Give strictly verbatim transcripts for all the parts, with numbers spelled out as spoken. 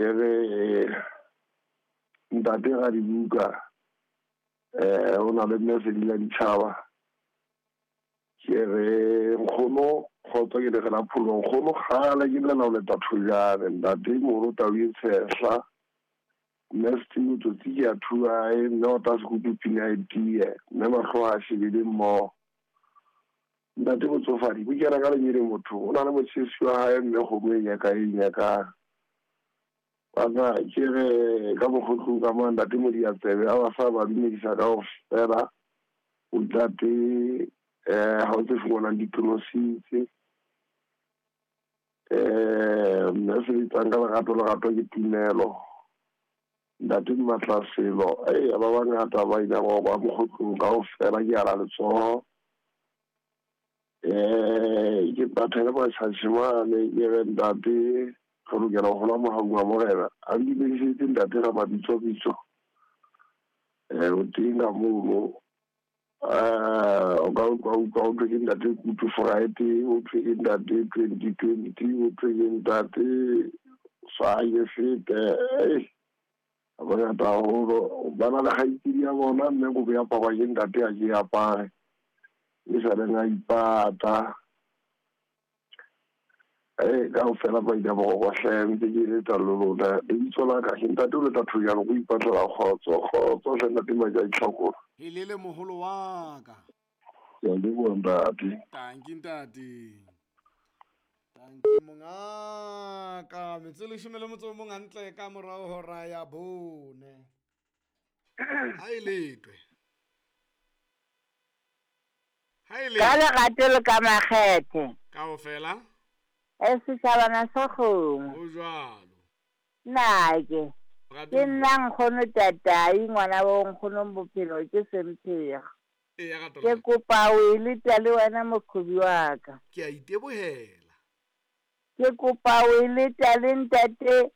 Ke re ntate Radibuka eh o na le mme Sedila Ditjhaba. Ke re nkgono kgotso ke le la pholo nkgono kgale ke llela ho leta thojane ntate moholo tau e tshehla mme Steve Tsotsi ke a thuae mme o tla sekupu pina e tie mme mahlo a shebile mmoho. Ntate botsofadi bo kena ka lenyele motho o na le motjhesi wa hae mme kgomo e nyaka e nyakang. Bana ke re ka mokgotlong ka mo ntate Modiatsebe a ba sa ba dumedisa kaofela. O ntate eh ha o tse fumanang ditlositse eh mme se bitsang ka lerato lerato ke tumelo. Ntate Matlaselo eh ba bangata ba ile ba ba mokgotlong kaofela ke ala letsoho. Eh ke bathele ba tjhatjhimane ke re ntate re lokela ho hola mohaung wa Morena. A ndumedisetse ntate ka mabitso bitso eh o teng ka mono eh o ka utlwa utlwa o thwe ke ntate Kutu Friday, o thwe ke ntate twenty twenty, o thwe ke ntate Swaye fete eh ba bangata haholo ba na le kgaitsedi ya bona mme kobo ya aparwa ke ntate a ke apare e sa leng a ipata. Eh kaofela ba ile ba go hle ntse ke letsa le lona lebitso la ka ke ntate o leta thojane go ipatlela kgotso kgotso hle ntate Maja Itlhakolo. Helele moholo wa ka. Ke a leboha ntate. Tanki ntate. Tanki mongaka metsotso leshome le motso o mong hantle ka morao hora ya bone. Ha e letwe. Ha e letwe. Ka lerato le ka makgethe. Kaofela. E setjhabana sa kgomo. Ho jwalo. Nna ke. Ke nna nkgono tatai ngwana bo nkgono bophelo ke Semphego. Eya rato. Ke kopa o e leta le wena moqhobi wa ka. Ke a itebohela. Ke kopa o e leta le ntate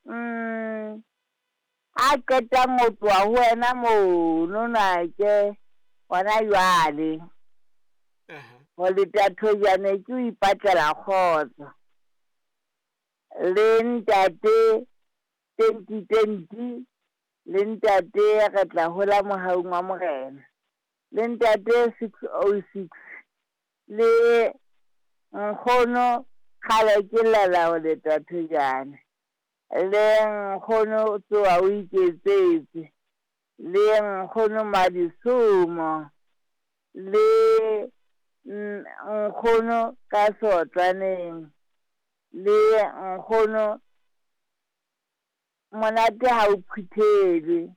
mm a qetang ho tloha ho wena mono nake hona jwale. Aha. Ho leta thojane ke o ipatlela kgotso. Le ntate twenty twenty le ntate re tla hola mohaung wa Morena. Le ntate six oh six le nkgono kgale ke llela ho leta thojane. Le nkgono tsoa o iketsetse. Le nkgono Madisomo le nkgono ka sotlaneng le nkgono monate ha o phuthelwe.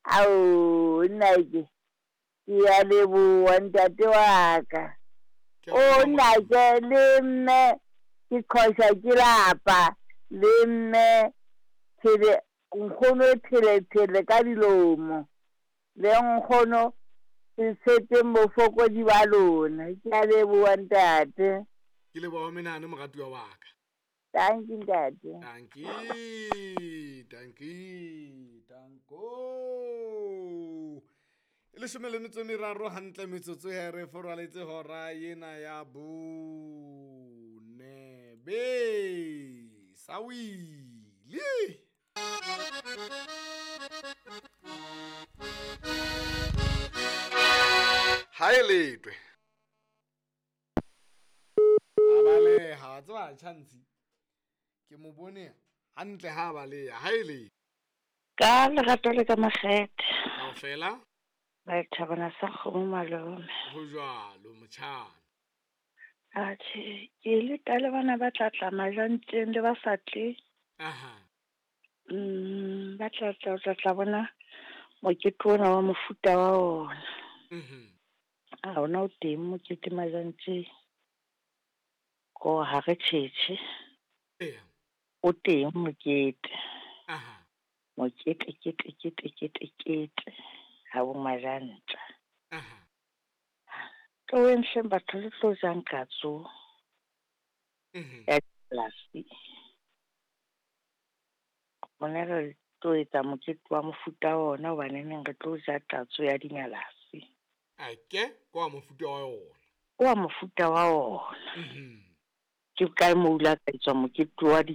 Ao nna ke ke a leboha ntate wa ka. O nna ke le mme ke qhosha ke lapa le mme thele nkgono thele thele ka dilomo le nkgono se tshepeng bofokodi ba lona. Ke a leboha ntate. Ke leboha menahano moratuwa wa ka. Thank you ntate. Thank you, thank you, tanko. E leshome le metso e meraro hantle metsotso he re foraletse hora ena ya bone. Be sawile. Ha e letwe. A baleha, wa tseba chance. Ke mo bone hantle ha baleha. Ha e le. Ka lerato le ka makgethe. Kaofela. Ba thabana sa kgomo malome. Ho jwalo motjhana. Atjhe, ke le ka le bana ba tla tla majanteng le ba sa tle. Aha. Mm, ba tla tla tla tla bona mokete ona wa mofuta wa ona. Mhm. A ona o teng mokete majanteng. Ko ha re tjhetjhe. Eya. O teng mokete. Aha. Mokete kete kete kete kete. Ha bo majanta. Aha. Tloheng hleng batho le tlo jang katso. Mhm. Ya polasi. Bona re tlo etsa mokete wa mofuta ona hobane neng re tlo ja tatso ya dinyalasi. Ake kwa mofuta wa yona. Kwa mofuta wa ona. Mhm. Ke kae mo ula ka etswa mokete wa